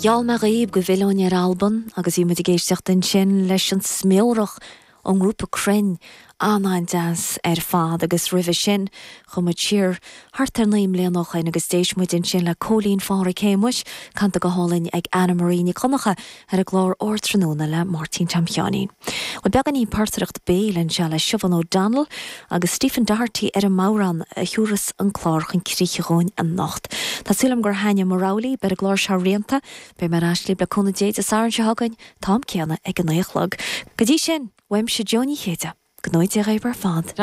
Gheall mé dhaoib go bhfillfinn ar Albain agus bhí muid ag éisteacht ansin leis an Smeurach ón ngrúpa Crainn, an-an-deas ar fad agus roimhe sin chuaigh muid siar thart ar 9 mbliana ó shoin agus d'éist muid ansin le Cóilín Phádhraic Shéamuis, canta go hálainn ag Anna Marie Nic Dhonncha ar an gclár Ardtráthnóna le Máirtín Tom Sheáinín. Bhuel, beagáinín portaireacht béil anseo le Siobhán O'Donnell agus Stephen Doherty ar an mbodhrán a thiúrfas an clár chun críche dhúinn anocht. Tá súil agam gur thaitnigh mo rogha libh, beidh an gclár seo rianta. Beidh mé ar ais libh le cúnamh Dé Dé Sathairn seo chugainn, t-am céanna ag a 9 a chlog. Go dtí sin, uaimse Jó Ní Chéide, go ngnóthaí Dia dhaoibh ar fad.